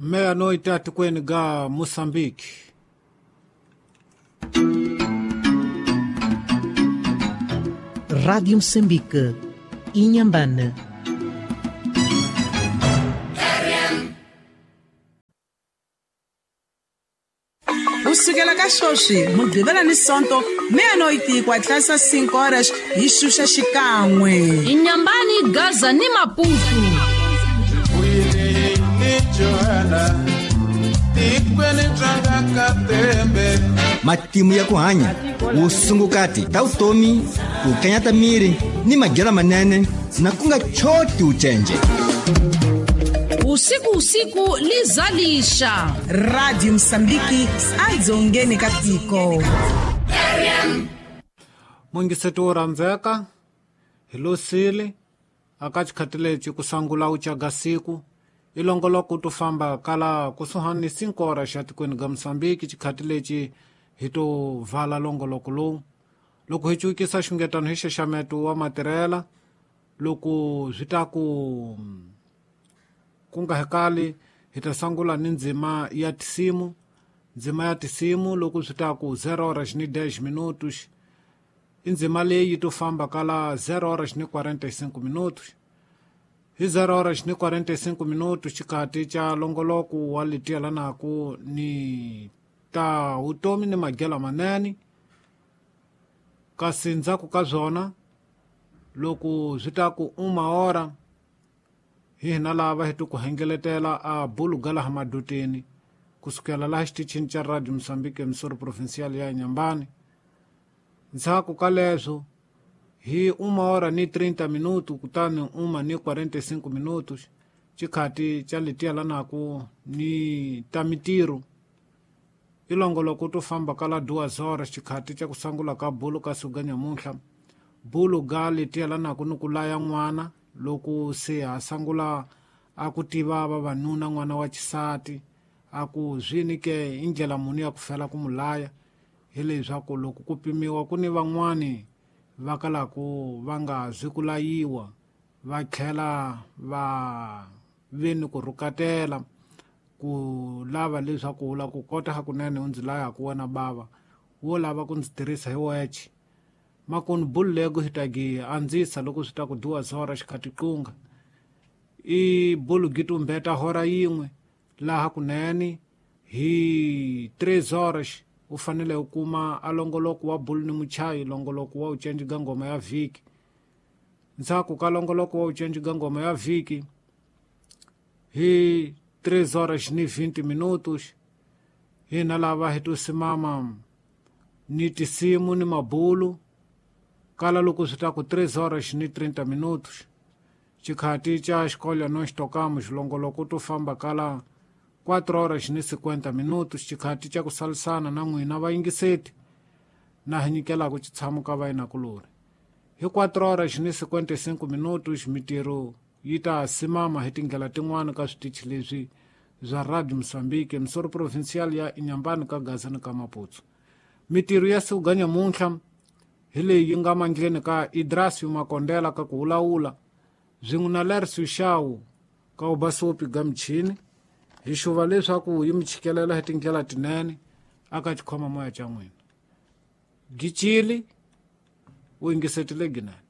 Meia-noite atikweni ga Moçambique. Rádio Moçambique, Inhambane. Kusukela ka sweswi Mugqivela ni Sonto meia-noite ku hatlisa 5 horas hi xuxa xikan'we. Inhambane, Gaza ni Maputo. Matimu ya ku hanya vusungukati ta vutomi ku kanyata miri ni madyelo manene na ku nga choti ucenje. Usiku usiku lizalisha. Radio Moçambique adzongeni ka tiko. Mungiseti wo rhandzeka hi losile aka xikhati lexi ku sangula u caga siku i longoloko to famba kala kusuhani ni 5 horas xa tikweni ga Moçambique. Xikhati lexi hi to vala longoloko lowu loko hi cukisa xungetano hi xaxameto wa matirhela loko swi ta ku ku nga hekali hi ta sangula ni ndzima ya tisimu. Ndzima ya tisimu loko swi ta ku 0 horas ni 10 minutos i ndzima leyi to famba kala 0 horas ni 45 minutos. Hi 0 horas ni 45 minutos xikati xa longoloko wa letielanaku ni ta vutomi ni madyelo manene. Kasi ndzhaku ka swona loko swi ta ku uma hora hi hina lava hi ku hengeletela a bulu ga laha madoteni kusukela laha xitichini xa Radio Moçambique emisoro provincial ya Inhambane. Ndzhaku ka leswo hi uma hora ni 30 minutos kutani uma ni 45 minutos xikhati xa letielanaku ni ta mitirho i longoloko to famba kala 2 horas xikhati xa ku sangula ka bulu ka suka nyamuntlha. Bulu ga letielanaku ni ku laya n'wana loko se ha sangula a ku tiva vavanuna n'wana wa xisati a ku zwini ke i ndlela muni ya ku fela ku mulaya hi leswaku loko ku pimiwa ku ni van'wani va kalaku va nga zwi ku layiwa va tlhela va ve ni ku rhukatela ku lava leswaku u lava ku kota hakunene u ndzi laya ku wena bava wo lava ku ndzi tirhisa hi weche makunu bulu lego hi ta gi andzisa loko swi ta ku 2 horas xikhati qunga i bulu gi tumbeta hora yin'we laha kunene hi 3 horas u fanele u kuma a longoloko wa bulu ni muchayi longoloko wa ucenji ga ngoma ya vhiki. Ndzhaku ka longoloko wa ucenji ga ngoma ya vhiki hi 3 horas ni 20 minutos hina lava hi to simama ni tisimu ni mabulu kala loko swi ta ku 3 horas ni 30 minutos xikhati xa xikolo no xitokamo xilongoloko to famba kala 4 horas ni 50 minutos xikhati xa ku salisana na n'wina vayingiseti na hi nyikelaku xitshamo ka vayinakulori. Hi 4 horas ni 55 minutos mitirho yi ta simama hi tindlela tin'wana ka switichi leswi bya Radio Moçambique emisoro provincial ya Inhambane ka Gaza ni ka Maputo. Mitirho ya siku ga nyamuntlha hi leyi yi nga mandleni ka Idrasio Makondela ka ku wulawula swin'we na Lercio Shaw ka ubasopi ga michini hi xuva leswaku yi mi chikelela hi tindlela tinene aka xikhoma moya xa n'wina. Gicili u yingisetile ginene.